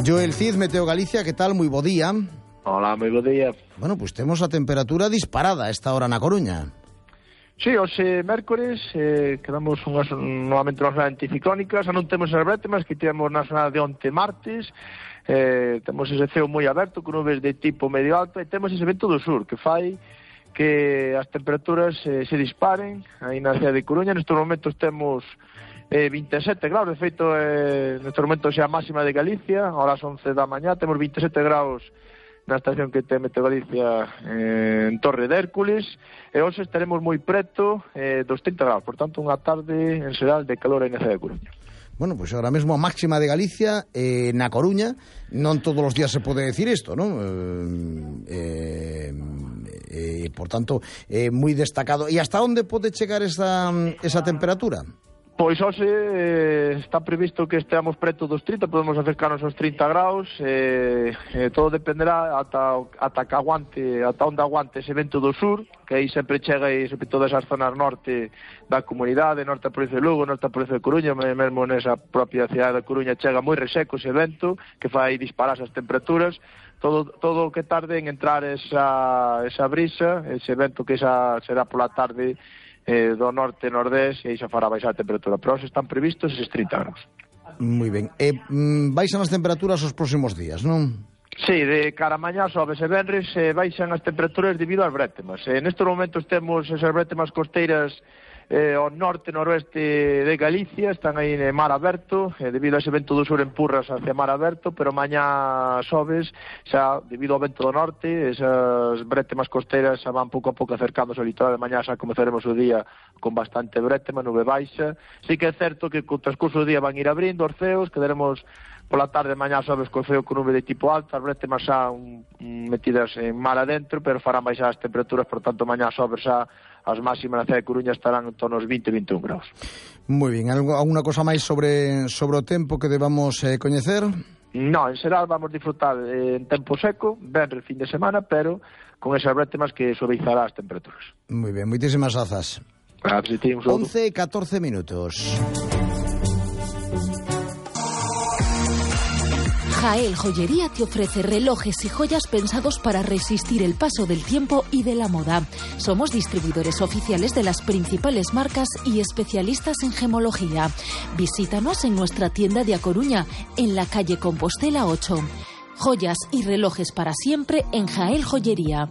Joel Cid, Meteo Galicia, que tal? Moi bo día. Hola, moi bo día. Bueno, pois temos a temperatura disparada a esta hora na Coruña. Sí, hoxe mércores quedamos novamente unhas zonas anticiclónicas, non temos as brétemas que tivemos na zona de onte martes, temos ese ceo moi aberto con nubes de tipo medio alto e temos ese vento do sur que fai que as temperaturas se disparen aí na cidade de Coruña. Nestes momentos temos 27 graus, de feito nestes momentos é a máxima de Galicia, ahora son 11 da mañá, temos 27 graus na estación que ten Meteo Galicia en Torre de Hércules, e hoxe estaremos moi preto dos 30 graus, por tanto unha tarde en xeral de calor aí na cidade de Coruña. Bueno, pois agora mesmo a máxima de Galicia na Coruña, non todos os días se pode decir isto, non? Por tanto, moi destacado. E hasta onde pode chegar esa temperatura? Pois hoxe está previsto que esteamos preto dos 30, podemos acercarnos aos 30 graus, todo dependerá ata onde aguante ese vento do sur, que aí sempre chega e sobre todas as zonas norte da comunidade, norte da provincia de Lugo, norte da provincia de Coruña, mesmo nesa propia cidade da Coruña chega moi reseco ese vento, que fai disparar as temperaturas, todo o que tarde en entrar esa brisa, ese vento que será pola tarde do norte-nordés, e aí xa fará baixar a temperatura, pero hoxe están previstos eses 30 graus. Moi ben. Baixan as temperaturas os próximos días, non? Sí, de cara a mañá, sobes e venres, baixan as temperaturas debido ás brétemas. Nestes momentos temos esas brétemas costeiras ao norte-noroeste de Galicia, están aí en mar aberto, debido a ese vento do sur empurras hacia mar aberto, pero mañá sobes, xa debido ao vento do norte, esas brétemas costeiras xa van pouco a pouco acercándose ao litoral, de mañá xa comezaremos o día con bastante brétema, nube baixa. Sí que é certo que co transcurso do día van ir abrindo os ceos, quedaremos pola tarde mañá sobes co ceo con nube de tipo alto, as brétemas xa metidas en mar adentro, pero farán baixar as temperaturas, por tanto mañá sobes xa as máximas na cidade de Coruña estarán en torno aos 20 e 21 graus. Moi ben, alguna cosa máis sobre o tempo que debamos coñecer? Non, en xeral vamos disfrutar en tempo seco, venres fin de semana, pero con esas brétemas que suavizará as temperaturas. Moi ben, moitísimas grazas. 11 e 14 minutos. Jael Joyería te ofrece relojes y joyas pensados para resistir el paso del tiempo y de la moda. Somos distribuidores oficiales de las principales marcas y especialistas en gemología. Visítanos en nuestra tienda de A Coruña, en la calle Compostela 8. Joyas y relojes para siempre en Jael Joyería.